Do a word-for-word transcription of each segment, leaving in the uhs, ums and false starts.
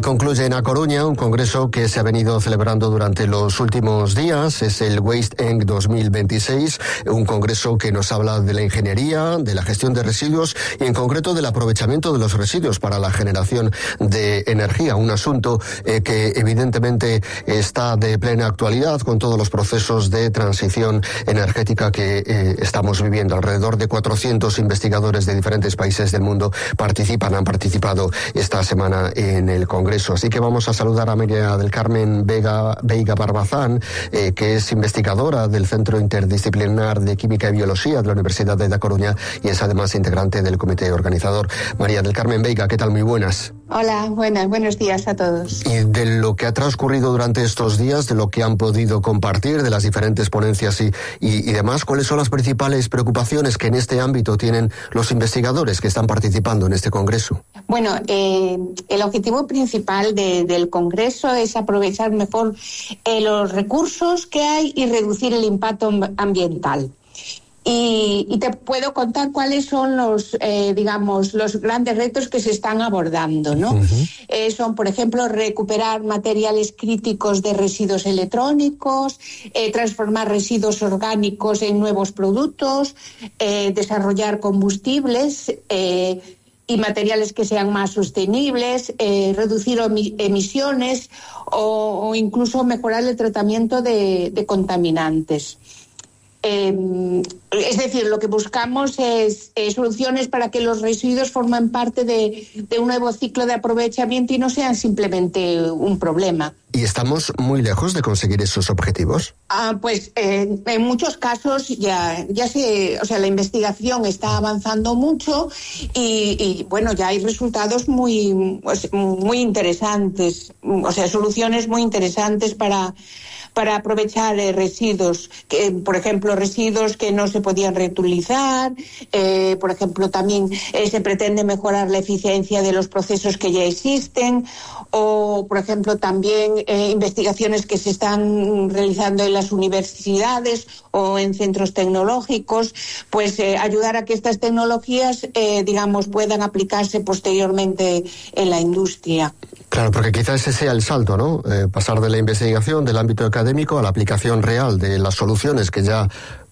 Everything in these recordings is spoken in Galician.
Hoy concluye en A Coruña un congreso que se ha venido celebrando durante los últimos días. Es el Waste Eng dos mil veintiséis, un congreso que nos habla de la ingeniería, de la gestión de residuos y en concreto del aprovechamiento de los residuos para la generación de energía. Un asunto eh, que evidentemente está de plena actualidad con todos los procesos de transición energética que eh, estamos viviendo. Alrededor de cuatrocientos investigadores de diferentes países del mundo participan, han participado esta semana en el Congreso. Así que vamos a saludar a María del Carmen Vega, Veiga Barbazán, eh, que es investigadora del Centro Interdisciplinar de Química y Biología de la Universidad de A Coruña y es además integrante del comité organizador. María del Carmen Veiga, ¿qué tal? Muy buenas. Hola, buenas, buenos días a todos. Y de lo que ha transcurrido durante estos días, de lo que han podido compartir, de las diferentes ponencias y, y, y demás, ¿cuáles son las principales preocupaciones que en este ámbito tienen los investigadores que están participando en este Congreso? Bueno, eh, el objetivo principal de, del Congreso es aprovechar mejor eh, los recursos que hay y reducir el impacto ambiental. Y, y te puedo contar cuáles son los, eh, digamos, los grandes retos que se están abordando, ¿no? Uh-huh. Eh, son, por ejemplo, recuperar materiales críticos de residuos electrónicos, eh, transformar residuos orgánicos en nuevos productos, eh, desarrollar combustibles eh, y materiales que sean más sostenibles, eh, reducir omi- emisiones o, o incluso mejorar el tratamiento de, de contaminantes. Eh, es decir, lo que buscamos es eh, soluciones para que los residuos formen parte de, de un nuevo ciclo de aprovechamiento y no sean simplemente un problema. ¿Y estamos muy lejos de conseguir esos objetivos? Ah, pues eh, en muchos casos ya, ya se, o sea, la investigación está avanzando mucho y, y bueno, ya hay resultados muy, pues, muy interesantes, o sea, soluciones muy interesantes para para aprovechar eh, residuos, que, por ejemplo, residuos que no se podían reutilizar, eh, por ejemplo, también eh, se pretende mejorar la eficiencia de los procesos que ya existen, o, por ejemplo, también eh, investigaciones que se están realizando en las universidades o en centros tecnológicos, pues eh, ayudar a que estas tecnologías, eh, digamos, puedan aplicarse posteriormente en la industria. Claro, porque quizás ese sea el salto, ¿no? Eh, pasar de la investigación del ámbito académico a la aplicación real de las soluciones que ya,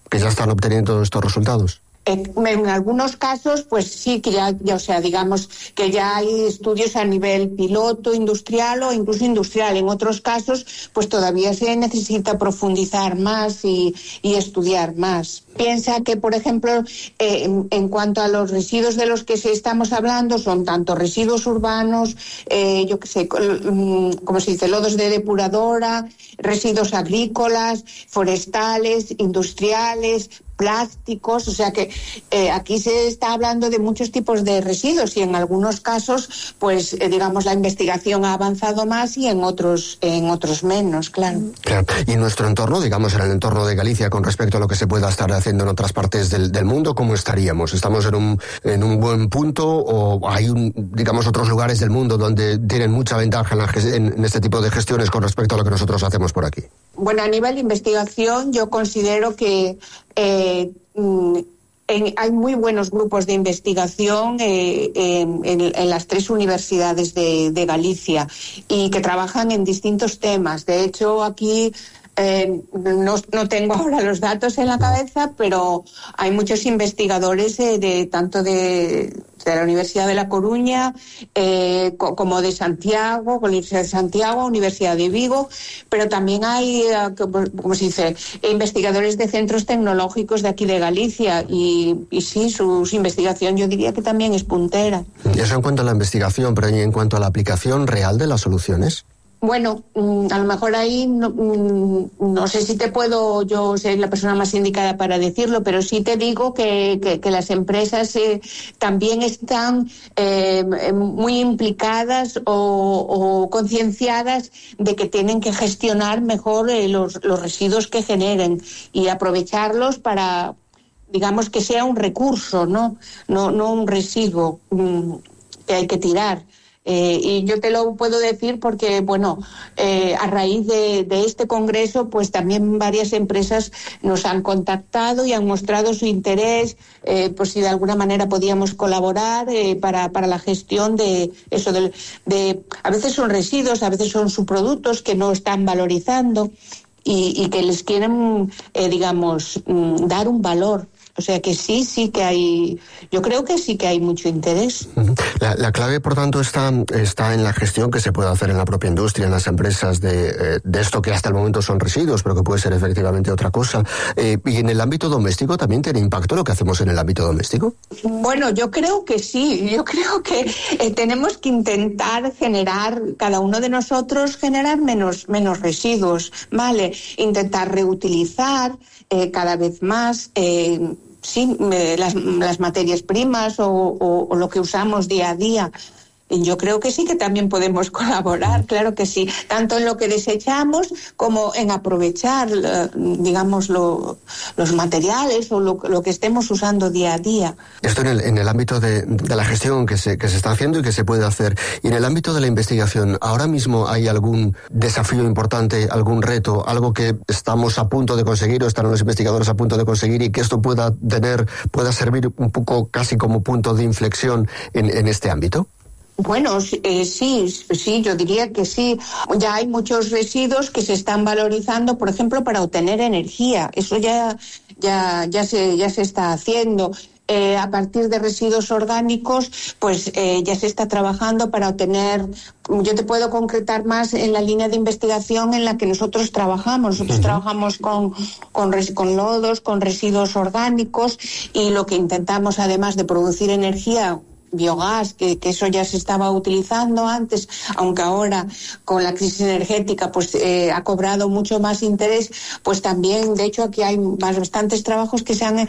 que ya están obteniendo estos resultados. En algunos casos, pues sí, que ya, ya, o sea, digamos que ya hay estudios a nivel piloto, industrial o incluso industrial. En otros casos, pues todavía se necesita profundizar más y, y estudiar más. Piensa que, por ejemplo, eh, en, en cuanto a los residuos de los que se estamos hablando, son tanto residuos urbanos, eh, yo qué sé, como se dice, lodos de depuradora, residuos agrícolas, forestales, industriales, plásticos, o sea que eh, aquí se está hablando de muchos tipos de residuos y en algunos casos, pues eh, digamos la investigación ha avanzado más y en otros en otros menos, claro. Claro. Y en nuestro entorno, digamos en el entorno de Galicia, con respecto a lo que se pueda estar haciendo en otras partes del, del mundo, ¿cómo estaríamos? ¿Estamos en un en un buen punto o hay un, digamos otros lugares del mundo donde tienen mucha ventaja en, la, en, en este tipo de gestiones con respecto a lo que nosotros hacemos por aquí? Bueno, a nivel de investigación yo considero que eh, en, hay muy buenos grupos de investigación eh, en, en, en las tres universidades de, de Galicia y que trabajan en distintos temas. De hecho, aquí eh, no, no tengo ahora los datos en la cabeza, pero hay muchos investigadores eh, de tanto de, de la Universidad de La Coruña eh, co- como de Santiago, con la Universidad de Santiago, Universidad de Vigo, pero también hay, eh, como se dice, investigadores de centros tecnológicos de aquí de Galicia y, y sí, su, su investigación yo diría que también es puntera. Eso en cuanto a la investigación, pero ¿y en cuanto a la aplicación real de las soluciones? Bueno, a lo mejor ahí no, no sé si te puedo yo ser la persona más indicada para decirlo, pero sí te digo que, que, que las empresas eh, también están eh, muy implicadas o, o concienciadas de que tienen que gestionar mejor eh, los, los residuos que generen y aprovecharlos para, digamos, que sea un recurso, no, no, no un residuo um, que hay que tirar. Eh, y yo te lo puedo decir porque, bueno, eh, a raíz de, de este congreso, pues también varias empresas nos han contactado y han mostrado su interés, eh, pues si de alguna manera podíamos colaborar eh, para, para la gestión de eso, de, de, a veces son residuos, a veces son subproductos que no están valorizando y, y que les quieren, eh, digamos, dar un valor. O sea que sí, sí que hay, yo creo que sí que hay mucho interés. La, la clave, por tanto, está, está en la gestión que se puede hacer en la propia industria, en las empresas de, de esto que hasta el momento son residuos, pero que puede ser efectivamente otra cosa. Eh, ¿Y en el ámbito doméstico también tiene impacto lo que hacemos en el ámbito doméstico? Bueno, yo creo que sí. Yo creo que eh, tenemos que intentar generar, cada uno de nosotros, generar menos, menos residuos, ¿vale? Intentar reutilizar eh, cada vez más. Eh, Sí, las, las materias primas o, o, o lo que usamos día a día. Yo creo que sí que también podemos colaborar, claro que sí, tanto en lo que desechamos como en aprovechar, digamos, lo, los materiales o lo, lo que estemos usando día a día. Esto en el, en el ámbito de, de la gestión que se, que se está haciendo y que se puede hacer. Y en el ámbito de la investigación, ¿ahora mismo hay algún desafío importante, algún reto, algo que estamos a punto de conseguir o están los investigadores a punto de conseguir y que esto pueda tener, pueda servir un poco casi como punto de inflexión en, en este ámbito? Bueno, eh, sí, sí, yo diría que sí. Ya hay muchos residuos que se están valorizando, por ejemplo, para obtener energía. Eso ya, ya, ya se, ya se está haciendo. Eh, a partir de residuos orgánicos, pues eh, ya se está trabajando para obtener. Yo te puedo concretar más en la línea de investigación en la que nosotros trabajamos. Nosotros uh-huh. trabajamos con, con, con lodos, con residuos orgánicos y lo que intentamos, además de producir energía, biogás, que, que eso ya se estaba utilizando antes, aunque ahora con la crisis energética pues eh, ha cobrado mucho más interés, pues también, de hecho, aquí hay bastantes trabajos que se han eh,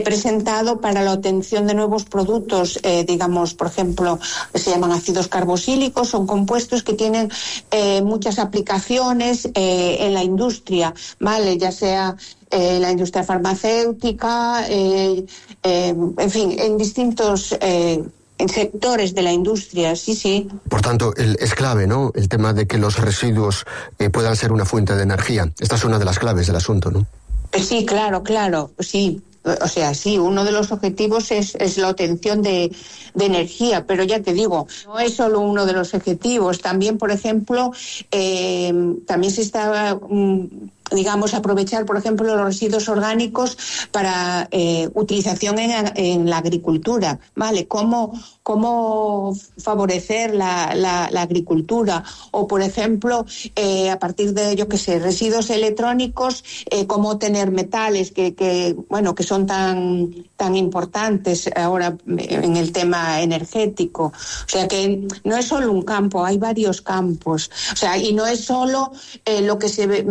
presentado para la obtención de nuevos productos, eh, digamos, por ejemplo, se llaman ácidos carboxílicos, son compuestos que tienen eh, muchas aplicaciones eh, en la industria, ¿vale? Ya sea eh, la industria farmacéutica, eh, eh, en fin, en distintos eh, en sectores de la industria, sí, sí. Por tanto, el, es clave, ¿no?, el tema de que los residuos eh, puedan ser una fuente de energía. Esta es una de las claves del asunto, ¿no? Sí, claro, claro, sí. O sea, sí, uno de los objetivos es, es la obtención de, de energía, pero ya te digo, no es solo uno de los objetivos. También, por ejemplo, eh, también se está, um, digamos, aprovechar, por ejemplo, los residuos orgánicos para eh, utilización en, en la agricultura, ¿vale? ¿Cómo, cómo favorecer la, la, la agricultura? O, por ejemplo, eh, a partir de, yo qué sé, residuos electrónicos, eh, cómo tener metales que, que bueno, que son tan, tan importantes ahora en el tema energético. O sea que no es solo un campo, hay varios campos. O sea, y no es solo eh, lo que se ve,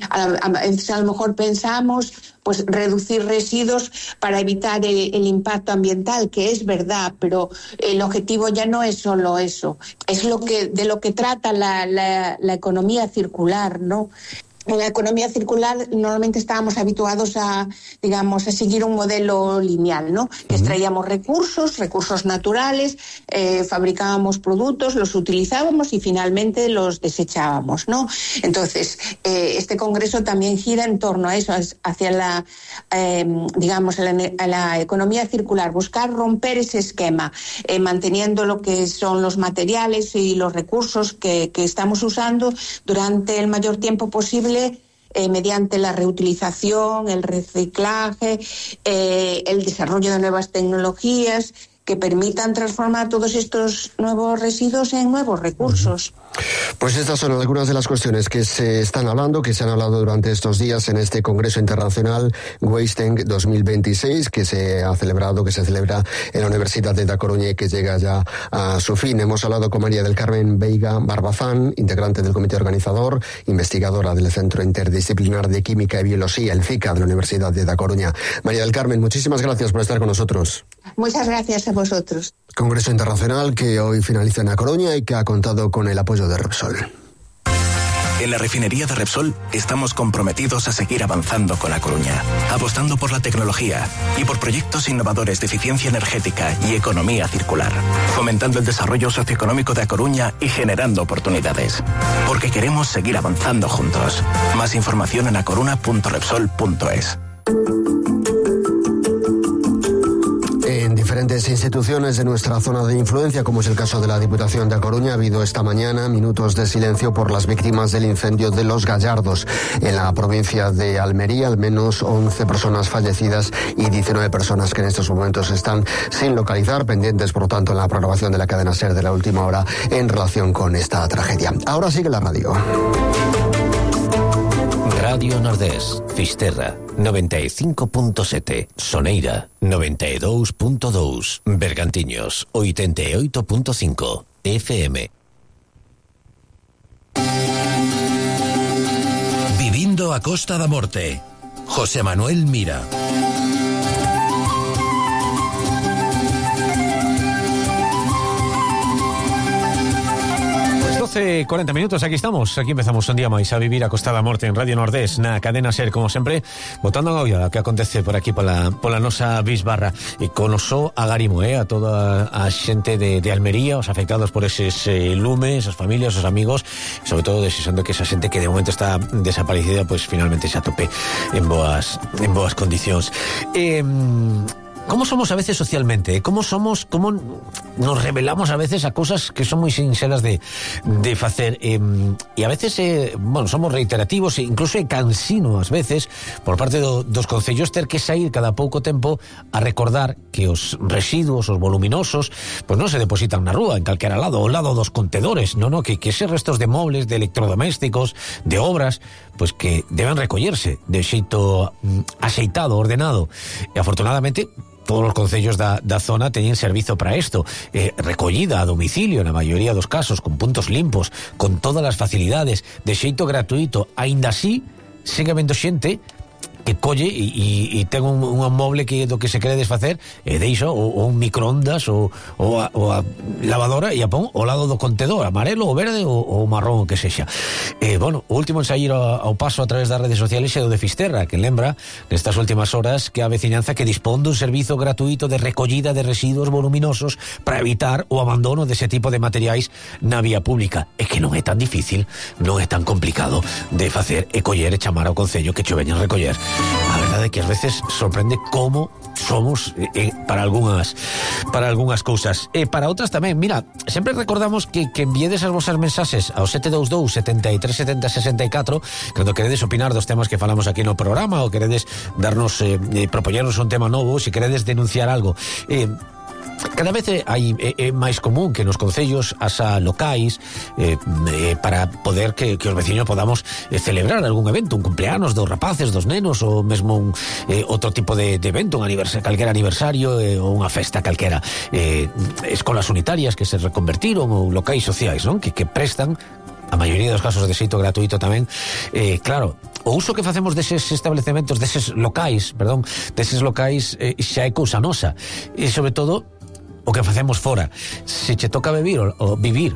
a, a, a, a lo mejor pensamos, pues reducir residuos para evitar el, el impacto ambiental, que es verdad, pero el objetivo ya no es solo eso, es lo que de lo que trata la, la, la economía circular, ¿no? En la economía circular normalmente estábamos habituados a, digamos, a seguir un modelo lineal, ¿no? Que extraíamos recursos, recursos naturales, eh, fabricábamos productos, los utilizábamos y finalmente los desechábamos, ¿no? Entonces, eh, este congreso también gira en torno a eso, hacia la, eh, digamos, a la, a la economía circular, buscar romper ese esquema, eh, manteniendo lo que son los materiales y los recursos que, que estamos usando durante el mayor tiempo posible, Eh, mediante la reutilización, el reciclaje, eh, el desarrollo de nuevas tecnologías que permitan transformar todos estos nuevos residuos en nuevos recursos. Pues estas son algunas de las cuestiones que se están hablando, que se han hablado durante estos días en este Congreso Internacional WasteEng dos mil veintiséis, que se ha celebrado, que se celebra en la Universidad de Da Coruña y que llega ya a su fin. Hemos hablado con María del Carmen Veiga Barbazán, integrante del comité organizador, investigadora del Centro Interdisciplinar de Química y Biología, el CICA, de la Universidad de Da Coruña. María del Carmen, muchísimas gracias por estar con nosotros. Muchas gracias a vosotros. Congreso Internacional que hoy finaliza en A Coruña y que ha contado con el apoyo de Repsol. En la refinería de Repsol estamos comprometidos a seguir avanzando con A Coruña, apostando por la tecnología y por proyectos innovadores de eficiencia energética y economía circular, fomentando el desarrollo socioeconómico de A Coruña y generando oportunidades. Porque queremos seguir avanzando juntos. Más información en acoruna punto repsol punto es. En diferentes instituciones de nuestra zona de influencia, como es el caso de la Diputación de A Coruña, ha habido esta mañana minutos de silencio por las víctimas del incendio de Los Gallardos. En la provincia de Almería, al menos once personas fallecidas y diecinueve personas que en estos momentos están sin localizar, pendientes, por lo tanto, en la programación de la cadena SER de la última hora en relación con esta tragedia. Ahora sigue la radio. Radio Nordés, Fisterra, noventa e cinco punto sete, Soneira, noventa e dous punto dous, Bergantiños, oitenta e oito punto cinco, F M. Vivindo a Costa da Morte, José Manuel Mira. doce cuarenta minutos, aquí estamos, aquí empezamos un día máis a vivir a Costa da Morte en Radio Nordés, na cadena SER, como sempre, botando a olla que acontece por aquí pola, pola nosa bisbarra, e conosó a Garimo, eh, a toda a xente de, de Almería, os afectados por eses eh, lumes, as familias, os amigos, e sobre todo desexando que esa xente que de momento está desaparecida, pois pues, finalmente se atope en boas, en boas condicións. Eh, ¿Cómo somos a veces socialmente? ¿Cómo somos, cómo nos revelamos a veces a cosas que son moi sinxelas de, de facer? Eh, e a veces, eh, bueno, somos reiterativos e incluso é cansino ás veces por parte do, dos concellos ter que sair cada pouco tempo a recordar que os residuos, os voluminosos, pois non se depositan na rúa, en calquera lado, ao lado dos contedores, non, non, que, que eses restos de mobles, de electrodomésticos, de obras, pois que deben recollerse de xeito mm, axeitado, ordenado. E afortunadamente todos os concellos da, da zona teñen servizo para isto, eh, recollida a domicilio na maioría dos casos, con puntos limpos, con todas as facilidades, de xeito gratuito. Aínda así, segue habendo xente que colle e, e, e ten un, un moble que do que se quere desfacer e deixo o, o un microondas ou, ou, a, ou a lavadora e a pon ao lado do contedor, amarelo ou verde ou, ou marrón o que sexa. E, bueno, o último en sair ao, ao paso a través das redes sociales é o de Fisterra, que lembra nestas últimas horas que a veciñanza que dispón dun servizo gratuito de recollida de residuos voluminosos para evitar o abandono dese tipo de materiais na vía pública. É que non é tan difícil, non é tan complicado de facer e coller e chamar ao concello que cho veñan recoller. A verdade é que ás veces sorprende como somos eh, para algunhas para algunhas cousas e para outras tamén. Mira, sempre recordamos que, que enviedes as vosas mensaxes ao sete dous dous, setenta e tres, setenta, sesenta e catro cando queredes opinar dos temas que falamos aquí no programa ou queredes darnos eh, propoñernos un tema novo, se queredes denunciar algo. eh, Cada vez hai, é, é máis común que nos concellos haxa locais eh, eh, para poder que, que os veciños podamos eh, celebrar algún evento, un cumpleanos dos rapaces, dos nenos, ou mesmo un, eh, outro tipo de, de evento, un aniversario, calquera aniversario eh, ou unha festa calquera. Eh, escolas unitarias que se reconvertiron ou locais sociais, non? Que, que prestan a maioría dos casos de xeito gratuito tamén. Eh, claro, o uso que facemos deses establecementos, deses locais, perdón, deses locais eh, xa é cousa nosa. E sobre todo o que facemos fora. Se che toca vivir o, o vivir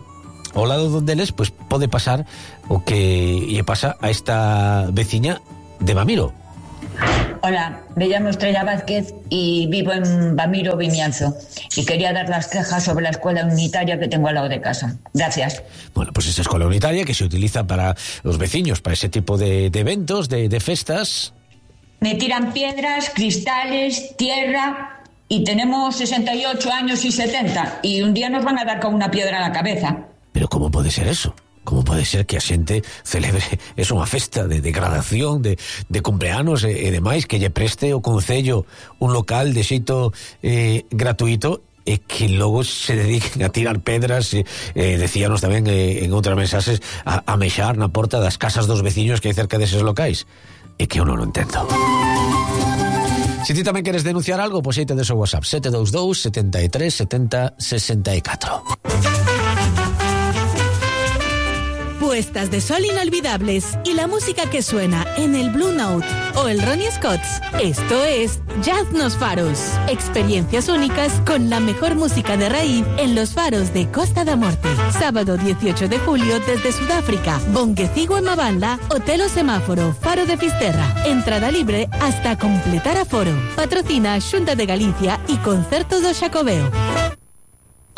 ao lado donde eles, pois pues pode pasar o que lle pasa a esta veciña de Bamiro. Hola, me llamo Estrella Vázquez y vivo en Bamiro, Vimianzo, y quería dar las quejas sobre la escuela unitaria que tengo al lado de casa. Gracias. Bueno, pues esa escuela unitaria que se utiliza para los vecinos, para ese tipo de, de eventos, de, de festas. Me tiran piedras, cristales, tierra. Y tenemos sesenta y ocho años y setenta, y un día nos van a dar con una piedra en la cabeza. Pero ¿cómo puede ser eso? ¿Cómo puede ser que a xente celebre es unha festa de degradación, de, de cumpleanos e, e demais, que lle preste o concello un local de xeito eh, gratuito e que logo se dediquen a tirar pedras, eh, eh, decíanos tamén eh, en outras mensaxes, a, a mexar na porta das casas dos veciños que hai cerca deses locais? É que eu non o entendo. Se ti tamén queres denunciar algo, pois aí te des o WhatsApp sete dous dous, setenta e tres, setenta, sesenta e catro. Puestas de sol inolvidables y la música que suena en el Blue Note o el Ronnie Scott's. Esto es Jazz Nos Faros. Experiencias únicas con la mejor música de raíz en los faros de Costa da Morte. Sábado dieciocho de julio desde Sudáfrica. Bonguecigo en Mabanda, Hotel O Semáforo, Faro de Fisterra. Entrada libre hasta completar aforo. Patrocina Xunta de Galicia y Concerto do Xacobeo.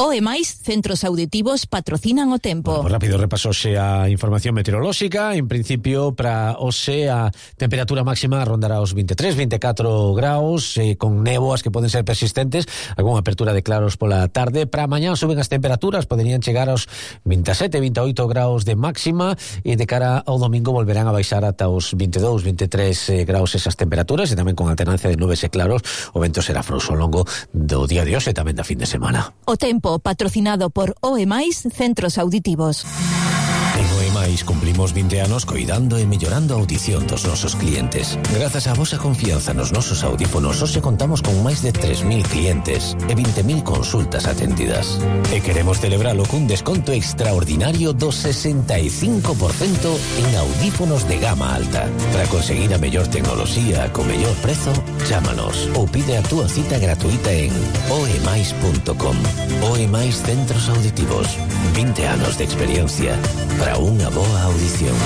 O E máis, centros auditivos patrocinan o tempo. Bueno, rápido repasose a información meteorolóxica. En principio, para hoxe a temperatura máxima rondará os veintitrés, veinticuatro graus, eh, con néboas que poden ser persistentes, algunha apertura de claros pola tarde. Para mañá suben as temperaturas, poderían chegar aos veintisiete, veintioito graus de máxima, e de cara ao domingo volverán a baixar ata os veintidós, veintitrés eh, graus esas temperaturas, e tamén con alternancia de nubes e claros. O vento será frouxo ao longo do día de hoxe e tamén da fin de semana. O tempo patrocinado por O E máis, centros auditivos. En O E máis cumplimos vinte anos coidando e mellorando a audición dos nosos clientes. Grazas á vosa confianza nos nosos audífonos, hoxe contamos con máis de tres mil clientes e vinte mil consultas atendidas. E queremos celebralo cun desconto extraordinario do sesenta e cinco por cento en audífonos de gama alta. Para conseguir a mellor tecnoloxía co mellor prezo, chámanos ou pide a túa cita gratuita en o e máis punto com. O E máis Centros Auditivos. vinte anos de experiencia para unha boa audición.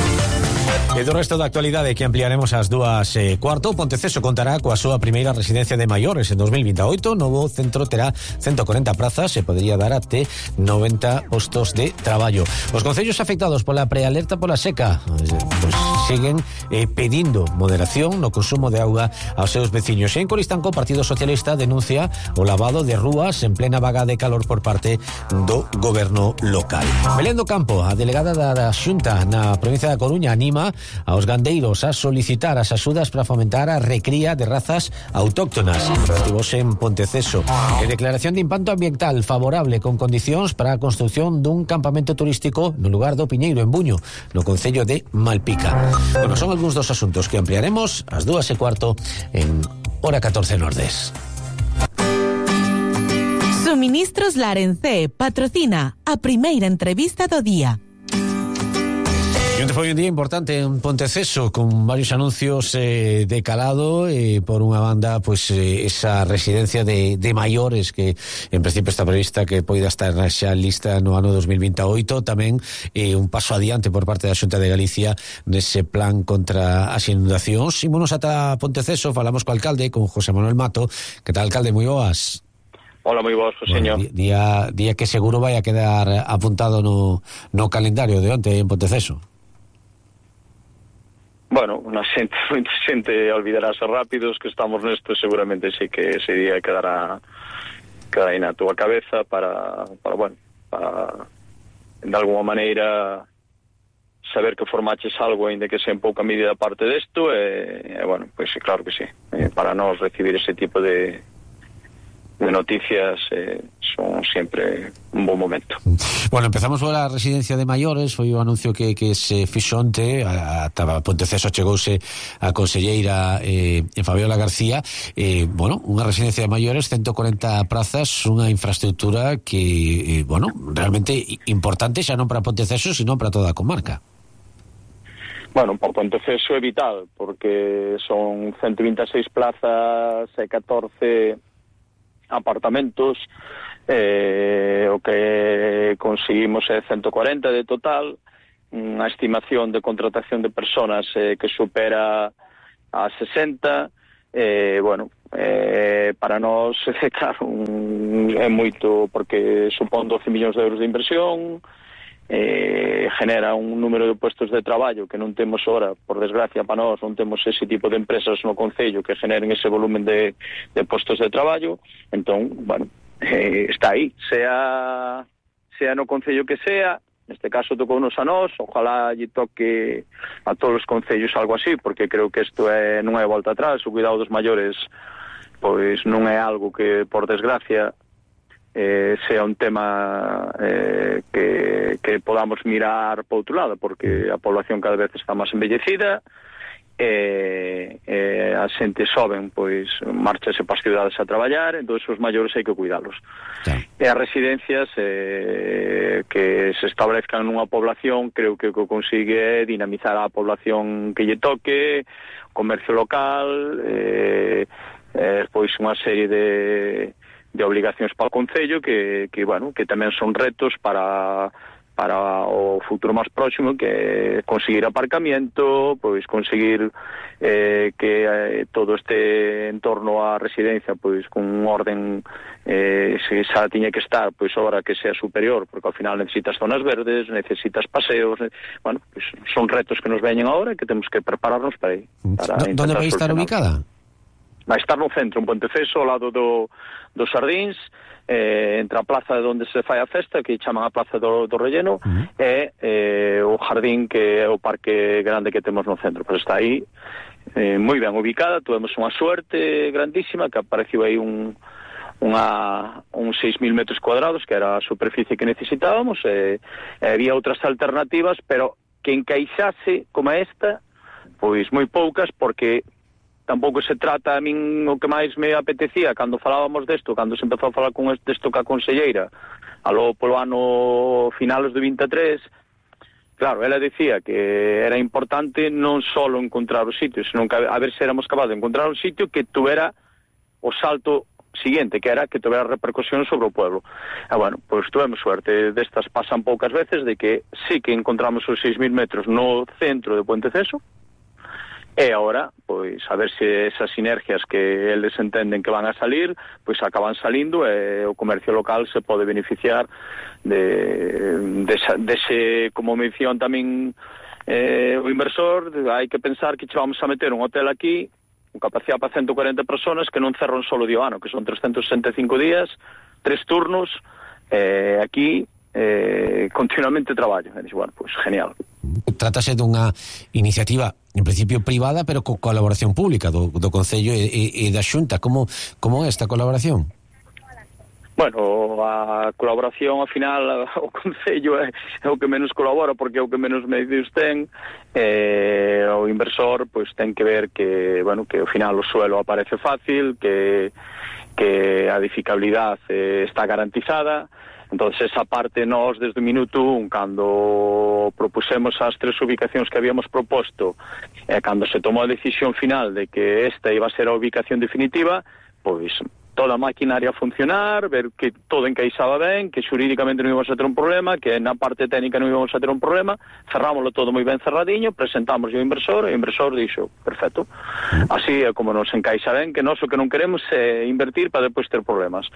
E do resto da actualidade que ampliaremos ás dúas e cuarto, Ponteceso contará coa súa primeira residencia de maiores en dos mil veintioito. O novo centro terá ciento corenta prazas e podería dar até noventa postos de traballo. Os concellos afectados pola prealerta pola seca pues, siguen eh, pedindo moderación no consumo de auga aos seus veciños. E en Coristanco, o Partido Socialista denuncia o lavado de rúas en plena vaga de calor por parte do goberno local. Belén do Campo, a delegada da, da Xunta na provincia da Coruña, anima aos gandeiros a solicitar as axudas para fomentar a recría de razas autóctonas. Estivose en Ponteceso. E declaración de impacto ambiental favorable con condicións para a construción dun campamento turístico no lugar do Piñeiro, en Buño, no concello de Malpica. Bueno, son algúns dos asuntos que ampliaremos ás dúas e cuarto en Hora catorce Nordés. Suministros Larencé patrocina a primeira entrevista do día. E onde foi un día importante en Ponteceso, con varios anuncios eh, de calado, e eh, por unha banda, pues, eh, esa residencia de, de maiores que en principio está prevista que poida estar xa lista no ano dos mil veintioito, tamén eh, un paso adiante por parte da Xunta de Galicia nese plan contra as inundacións. Ímonos ata Ponteceso, falamos co alcalde, con José Manuel Mato. Que tal, alcalde? Moi boas. Hola, moi boas, Joseño. Bueno, día, día que seguro vai a quedar apuntado no, no calendario de onte en Ponteceso. Bueno, unha xente, moita xente olvidarase rápidos que estamos nesto, seguramente sí que ese día quedará quedará aí na túa cabeza para, para bueno, para de alguma maneira saber que formaches algo ainda que sea en pouca medida parte desto e, e bueno, pois pues, claro que sí, eh, para nós recibir ese tipo de de noticias eh, son sempre un bon momento. Bueno, empezamos por a residencia de maiores. Foi o anuncio que, que se fixo onte. Ata Ponteceso chegouse a conselleira eh, Fabiola García. eh, bueno, unha residencia de maiores, ciento corenta prazas, unha infraestructura que, eh, bueno, realmente importante xa non para Ponteceso, sino para toda a comarca. Bueno, por Ponteceso é vital, porque son ciento veintiséis plazas e catorce apartamentos, eh, o que conseguimos é ciento corenta de total, unha estimación de contratación de personas eh, que supera a sesenta, eh, bueno, eh, para nós, claro, un, é moito, porque supón doce millóns de euros de inversión, eh, genera un número de puestos de traballo que non temos ora, por desgracia para nós non temos ese tipo de empresas no concello que generen ese volumen de, de puestos de traballo. Entón, bueno, eh, está aí, sea sea no concello que sea, neste caso tocounos a nós, ojalá lle toque a todos os concellos algo así, porque creo que isto é, non é volta atrás. O cuidado dos maiores pois non é algo que, por desgracia, Eh, sea un tema eh, que, que podamos mirar por outro lado, porque a población cada vez está máis envellecida, e eh, eh, a xente soben, pois marchase para as cidades a traballar, entón os maiores hai que cuidalos. Sí. E as residencias, eh, que se establezcan nunha población, creo que o que consigue é dinamizar a población que lle toque, comercio local, eh, eh, pois unha serie de, de obligacións para o Concello que, que, bueno, que tamén son retos para... para o futuro máis próximo, que conseguir aparcamiento, pois conseguir eh, que eh, todo este entorno á residencia pois con un orden, eh, se xa tiña que estar, pois ahora que sea superior, porque ao final necesitas zonas verdes, necesitas paseos, eh, bueno, pois son retos que nos veñen ahora e que temos que prepararnos para aí. Onde vai estar ubicada? Vai estar no centro, en Ponteceso, ao lado do, dos Xardíns, eh, entre a plaza onde se fai a festa, que chaman a Plaza do, do Relleno, uh-huh. e eh, o Jardín, que é o parque grande que temos no centro. Pero está aí eh, moi ben ubicada, tuvemos unha suerte grandísima, que apareceu aí un... Unha, uns seis mil metros cuadrados, que era a superficie que necesitábamos, e, e había outras alternativas, pero que encaixase como esta, pois moi poucas, porque tampouco se trata, a min o que máis me apetecía cando falábamos desto, cando se empezou a falar con desto ca conselleira aló polo ano finales do vinte e tres, claro, ela decía que era importante non só encontrar o sitio, senón que a ver se éramos capaces de encontrar un sitio que tuvera o salto siguiente, que era que tuvera repercusión sobre o pueblo. E bueno, pois tuvemos suerte, destas pasan poucas veces, de que sí que encontramos os seis mil metros no centro de Ponteceso. E agora, pois, a ver se esas sinergias que eles entenden que van a salir, pois acaban salindo e o comercio local se pode beneficiar de, de, de ese, como mención tamén eh, o inversor, hai que pensar que che vamos a meter un hotel aquí, con capacidade para ciento cuarenta personas, que non cerran solo di o ano, que son trescentos sesenta e cinco días, tres turnos, eh, aquí eh, continuamente traballo. E dixo, bueno, pois genial. Trátase dunha iniciativa en principio privada, pero con colaboración pública do, do Concello e, e, e da Xunta. Como, como é esta colaboración? Bueno, a colaboración, ao final, o Concello é, é o que menos colabora, porque é o que menos medios ten. Eh, o inversor, pois, ten que ver que, bueno, que ao final o suelo aparece fácil, que, que a edificabilidade eh, está garantizada. Entonces, esa parte, nós, desde o minuto un, cando propusemos as tres ubicacións que habíamos proposto, e cando se tomou a decisión final de que esta iba a ser a ubicación definitiva, pois toda a maquinaria a funcionar, ver que todo encaixaba ben, que xurídicamente non íbamos a ter un problema, que na parte técnica non íbamos a ter un problema, cerrámoslo todo moi ben cerradiño, presentamos ao inversor, e o inversor dixo, perfecto. Así é como nos encaixa ben, que nós o que non queremos é invertir para depois ter problemas.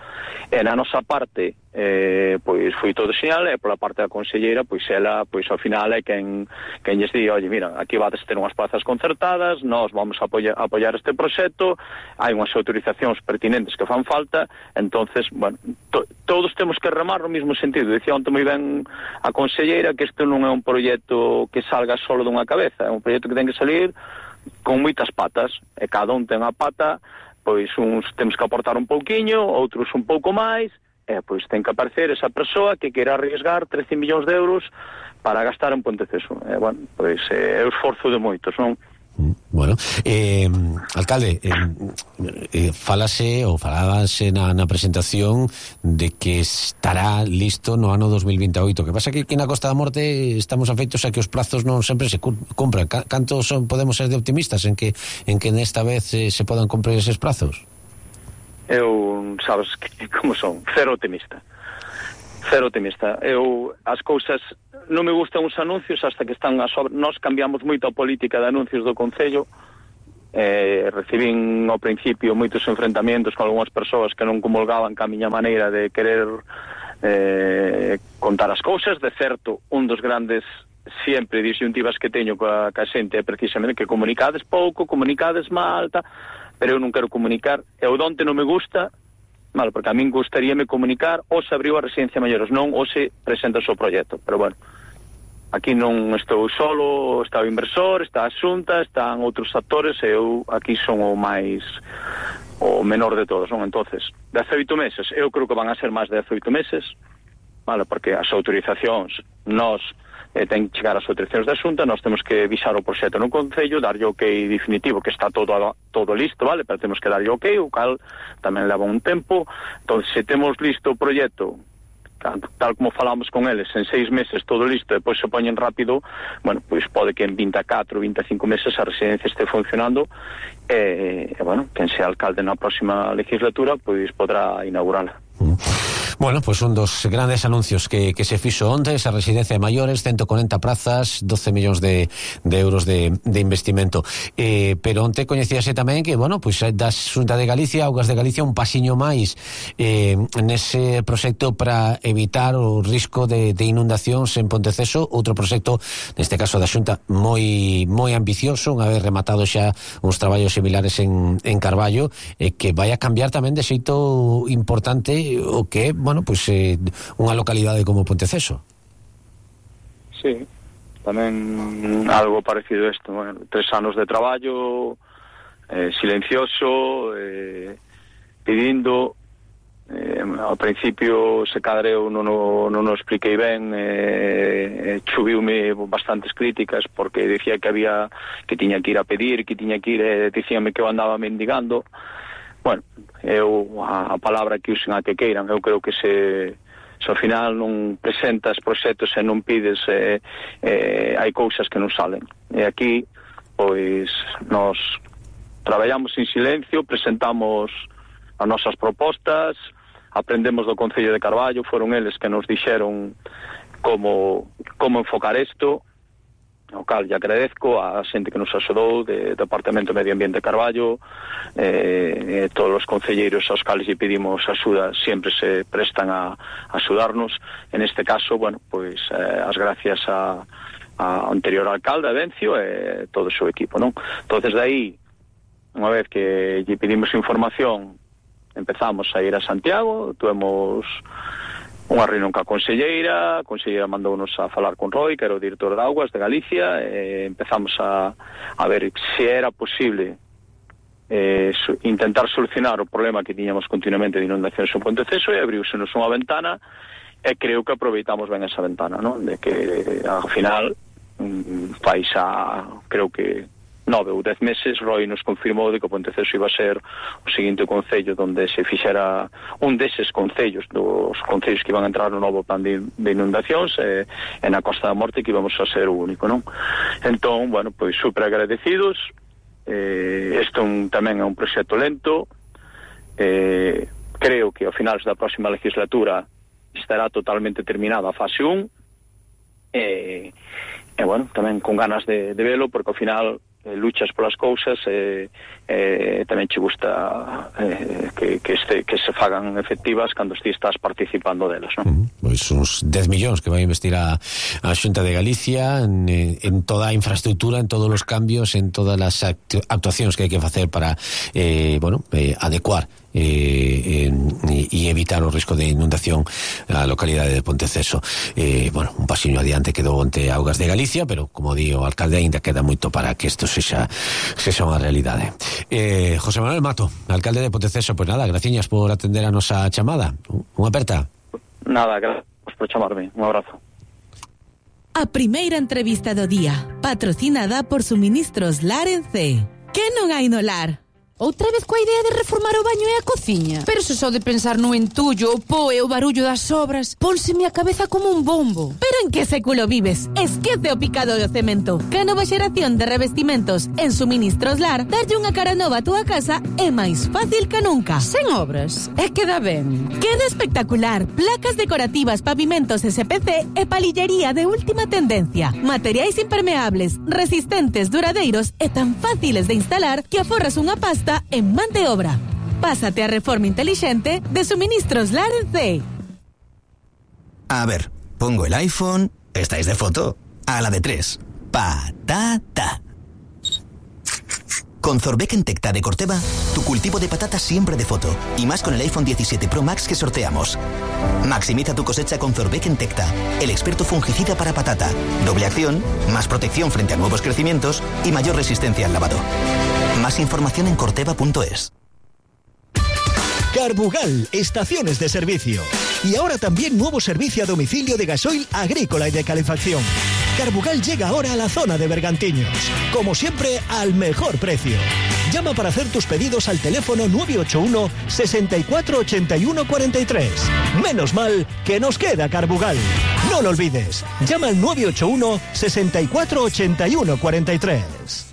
E na nosa parte, eh, pois foi todo xeñal, e pola parte da conselleira, pois ela, pois ao final é quen, quen lles di, oye, mira, aquí vades ter unhas plazas concertadas, nós vamos a apoiar, a apoiar este proxecto, hai unhas autorizacións pertinentes que fan falta, entonces, bueno, to, todos temos que remar no mesmo sentido. Dicía onte moi ben a conselleira que isto non é un proxecto que salga solo dunha cabeza, é un proxecto que ten que salir con moitas patas, e cada un ten a pata, pois uns temos que aportar un pouquiño, outros un pouco máis, e pois ten que aparecer esa persoa que queira arriesgar trece millóns de euros para gastar en Ponteceso. E, bueno, pois é o esforzo de moitos, non? Bueno, eh, alcalde, eh, eh, falase ou falábase na, na presentación de que estará listo no ano dos mil veintioito. Que pasa que aquí na Costa da Morte estamos afeitos a que os plazos non sempre se cumpran. Canto son, podemos ser de optimistas en que en que nesta vez eh, se podan cumprir eses plazos? Eu, sabes que, como son, cero optimista. Cero optimista. Eu, as cousas, non me gustan os anuncios hasta que están a sobre. Nós cambiamos moito a política de anuncios do Concello. Eh, recibín ao principio moitos enfrentamentos con algunhas persoas que non comulgaban ca miña maneira de querer eh, contar as cousas. De certo, un dos grandes sempre disyuntivas que teño coa, coa xente é precisamente que comunicades pouco, comunicades mal, ta, pero eu non quero comunicar. E o donte non me gusta, mal, porque a min gustaríame comunicar ou se abriu a residencia maiores, non ou se presenta o seu proxecto. Pero bueno, aquí non estou solo, está o inversor, está a Xunta, están outros actores, e eu aquí son o máis o menor de todos, non? Entonces, dezaoito meses, eu creo que van a ser máis de dezaoito meses, vale, porque as autorizacións, nós eh, ten que chegar as autorizacións da Xunta, nós temos que visar o proxecto no Concello, darlle o ok definitivo, que está todo todo listo, vale, pero temos que darlle ok, o cal tamén leva un tempo. Entón, se temos listo o proxecto tal como falamos con eles, en seis meses todo listo, e depois se poñen rápido, bueno, pois pode que en vinte e catro, vinte e cinco meses a residencia este funcionando, e, e bueno, quen sea alcalde na próxima legislatura, pois podrá inaugurala. Bueno, pues un dos grandes anuncios que, que se fixo onte, esa residencia de maiores, ciento cuarenta prazas, doce millóns de, de euros de, de investimento. Eh, pero onte coñecíase tamén que, bueno, pues da Xunta de Galicia, Augas de Galicia, un pasiño máis eh, nese proxecto para evitar o risco de, de inundacións en Ponteceso, outro proxecto, neste caso da Xunta, moi moi ambicioso, unha vez rematado xa uns traballos similares en, en Carballo, eh, que vai a cambiar tamén de xeito importante o que é, bueno, pois pues, eh, unha localidade como Ponteceso. Sí, tamén algo parecido a isto, bueno, tres anos de traballo, eh, silencioso, eh, pedindo, eh, ao principio se cadre eu non o, non o expliquei ben, eh, chuviume bastantes críticas porque decía que había que tiña que ir a pedir, que tiña que ir, eh, dicíame que eu andaba mendigando. Bueno, eu a, a palabra que usen a que queiran, eu creo que se, se ao final non presentas proxectos e non pides, eh, eh, hai cousas que non salen. E aquí, pois, nos traballamos en silencio, presentamos as nosas propostas, aprendemos do Concello de Carballo, foron eles que nos dixeron como, como enfocar isto, ao cal lle agradezco a xente que nos axudou de Departamento de Medio Ambiente de Carballo, eh, eh, todos os concelleiros aos cales lle pedimos axuda sempre se prestan a, a axudarnos. En este caso, bueno, pois eh, as gracias a, a anterior alcalde, a Bencio, e eh, todo o seu equipo, non? Entonces, de aí, unha vez que lle pedimos información, empezamos a ir a Santiago, tuvemos unha reunión ca conselleira, a conselleira mandounos a falar con Roy, que era o director de Augas de Galicia, e empezamos a, a ver se era posible eh, su, intentar solucionar o problema que tiñamos continuamente de inundacións en Ponteceso, e abriúsenos unha ventana, e creo que aproveitamos ben esa ventana, non? De que, ao final, fai xa, creo que nove ou dez meses, Roy nos confirmou de que o Ponteceso iba a ser o seguinte concello donde se fixera un deses concellos, dos concellos que iban a entrar no novo plan de, de inundacións, e, e na Costa da Morte que íbamos a ser o único, non? Entón, bueno, pois super agradecidos. Eh, isto un, tamén é un proxecto lento, eh, creo que ao finales da próxima legislatura estará totalmente terminada a fase un, e, e bueno, tamén con ganas de, de velo, porque ao final luchas polas cousas e eh, eh, tamén che gusta eh, que, que, este, que se fagan efectivas cando ti estás participando delas, non? Uh-huh. Pois uns dez millóns que vai investir a, a Xunta de Galicia en, en toda a infraestructura, en todos os cambios, en todas as actu- actuacións que hai que facer para eh, bueno, eh, adecuar e eh, eh, evitar o risco de inundación a localidade de Ponteceso. Eh, bueno, un pasiño adiante quedou onte Augas de Galicia, pero como di o alcalde, ainda queda moito para que isto sexa, sexa unha realidade. Eh, José Manuel Mato, alcalde de Ponteceso, pois pues nada, graciñas por atender a nosa chamada. Unha aperta. Nada, gracias por chamarme. Un abrazo. A primeira entrevista do día, patrocinada por Suministros Lar en C. Que non hai no lar? Outra vez coa idea de reformar o baño e a cociña. Pero se só de pensar no entullo, o po e o barullo das obras, pónseme a cabeza como un bombo. Pero en que século vives? Esquece o picado do cemento. Que a nova xeración de revestimentos en Suministros Lar darlle unha cara nova a túa casa é máis fácil que nunca. Sen obras, é que dá ben. Queda espectacular. Placas decorativas, pavimentos S P C e palillería de última tendencia. Materiais impermeables, resistentes, duradeiros e tan fáciles de instalar que aforras unha pasta en man de obra. Pásate a reforma inteligente de Suministros Lar en C. A ver, pongo el iPhone. ¿Estáis de foto? A la de tres. Patata. Con Zorbeck en Tecta de Corteva, tu cultivo de patatas siempre de foto. Y más con el iPhone diecisiete Pro Max que sorteamos. Maximiza tu cosecha con Zorbeck en Tecta, el experto fungicida para patata. Doble acción, más protección frente a nuevos crecimientos y mayor resistencia al lavado. Más información en corteva punto es. Carbugal, estaciones de servicio. Y ahora también nuevo servicio a domicilio de gasoil agrícola y de calefacción. Carbugal llega ahora a la zona de Bergantiños. Como siempre, al mejor precio. Llama para hacer tus pedidos al teléfono nueve ocho uno, sesenta y cuatro, ochenta y uno, cuarenta y tres. Menos mal que nos queda Carbugal. No lo olvides. Llama al nueve ocho uno, sesenta y cuatro, ochenta y uno, cuarenta y tres.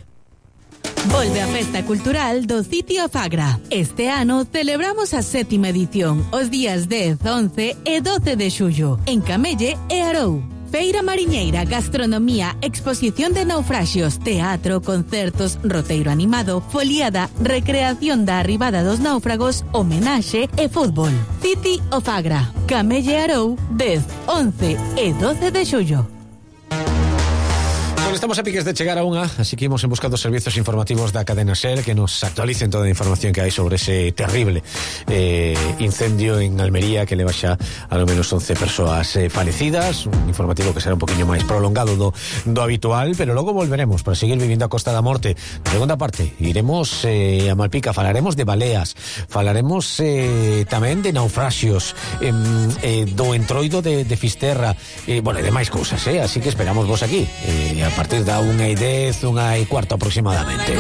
Volve a Festa Cultural do Sitio Fagra. Este ano celebramos a sétima edición, os días dez, once e doce de xullo, en Camelle e Arou. Feira mariñeira, gastronomía, exposición de naufraxios, teatro, concertos, roteiro animado, foliada, recreación da arribada dos náufragos, homenaxe e fútbol. City o Fagra, Camelle Arou, dez, once e doce de xullo. Bueno, estamos a piques de chegar a unha, así que imos en busca dos servizos informativos da cadena SER que nos actualicen toda a información que hai sobre ese terrible eh, incendio en Almería que leva xa a lo menos once persoas eh, falecidas. Un informativo que será un poquinho máis prolongado do, do habitual, pero logo volveremos para seguir vivindo a Costa da Morte. Na segunda parte iremos eh, a Malpica, falaremos de baleas, falaremos eh, tamén de naufraxios, eh, eh, do entroido de, de Fisterra, eh, bueno, e demais cousas, eh? Así que esperamos vos aquí eh, a partir da unha e dez, unha e cuarto aproximadamente.